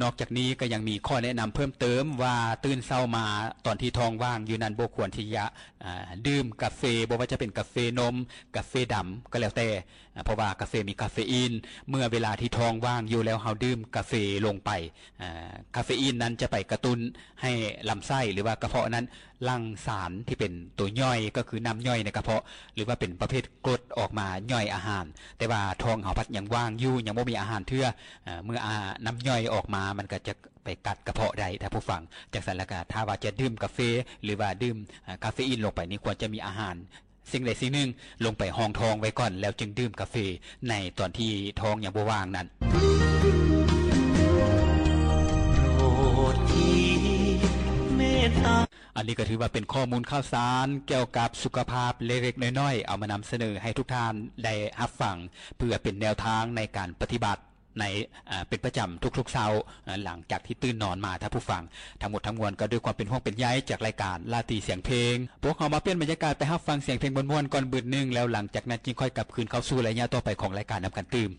ນອກຈາກນີ້ກໍຍັງມີຂໍ້ແນະນຳເພີ່ມເຕີມວ່າ ຕື່ນເຊົ້າມາຕອນທີ່ທ້ອງວ່າງຢູ່ນັ້ນ ບໍ່ຄວນທີ່ຈະ ອ່າ ດື່ມກາເຟ, ບໍ່ວ່າຈະເປັນກາເຟນົມ, ກາເຟດຳກໍແລ້ວແຕ່, ເພາະວ່າກາເຟມີກາເຟອີນ. ເມື່ອເວລາທີ່ທ້ອງວ່າງຢູ່ແລ້ວ ເຮົາດື່ມກາເຟລົງໄປ, ກາເຟອີນນັ້ນຈະໄປກະຕຸ້ນໃຫ້ລຳໄສ້ ຫຼືວ່າກະເພາະນັ້ນ ຫຼັ່ງສານທີ່ເປັນໂຕຍ່ອຍ ກໍຄືນ້ຳຍ່ອຍໃນກະເພາະ ຫຼືວ່າເປັນປະເພດກົດອອກມາຍ່ອຍອາຫານ, ແຕ່ວ່າທ້ອງເຮົາພັດຍັງວ່າງຢູ່ ຍັງບໍ່ມີອາຫານເທື່ອ. ເມື່ອນ້ຳຍ່ອຍອອກມາ ມັນກໍຈະໄປກັດກະເພາະໄດ້ ທ່ານຜູ້ຟັງ. ຈັ່ງຊັ້ນແລ້ວກໍ ຖ້າວ່າຈະດື່ມກາເຟ ຫຼືວ່າດື່ມກາເຟອີນລົງໄປນີ້ ຄວນຈະມີອາຫານສິ່ງໃດສິ່ງໜຶ່ງລົງໄປຮອງທ້ອງໄວ້ກ່ອນ ແລ້ວຈຶ່ງດື່ມກາເຟໃນຕອນທີ່ທ້ອງຍັງບໍ່ວ່າງນັ້ນ. ອັນນີ້ກໍຖືວ່າເປັນຂໍ້ມູນຂ່າວສານກ່ຽວກັບສຸຂະພາບເລັກໆນ້ອຍໆ ເອົາມານຳສະເໜີໃຫ້ທຸກທ່ານໄດ້ຮັບຟັງ ເພື່ອເປັນແນວທາງໃນການປະຕິບັດໃນ ເປັນປະຈຳທຸກໆເຊົ້າ ຫຼັງຈາກທີ່ຕື່ນນອນມາ ທ່ານຜູ້ຟັງ. ທັງໝົດທັງມວນກໍດ້ວຍຄວາມເປັນຫ່ວງເປັນໃຍຈາກລາຍການລາຕີສຽງເພງ. ພວກເຮົາມາປ່ຽນບັນຍາກາດໄປຮັບຟັງສຽງເພງມ່ວນໆກ່ອນບຶດໜຶ່ງ ແລ້ວຫຼັງຈາກນັ້ນຈຶ່ງຄ່ອຍກັບຄືນເຂົ້າສູ່ໄລຍະຕໍ່ໄປຂອງລາຍການນຳກັນຕື່ມ.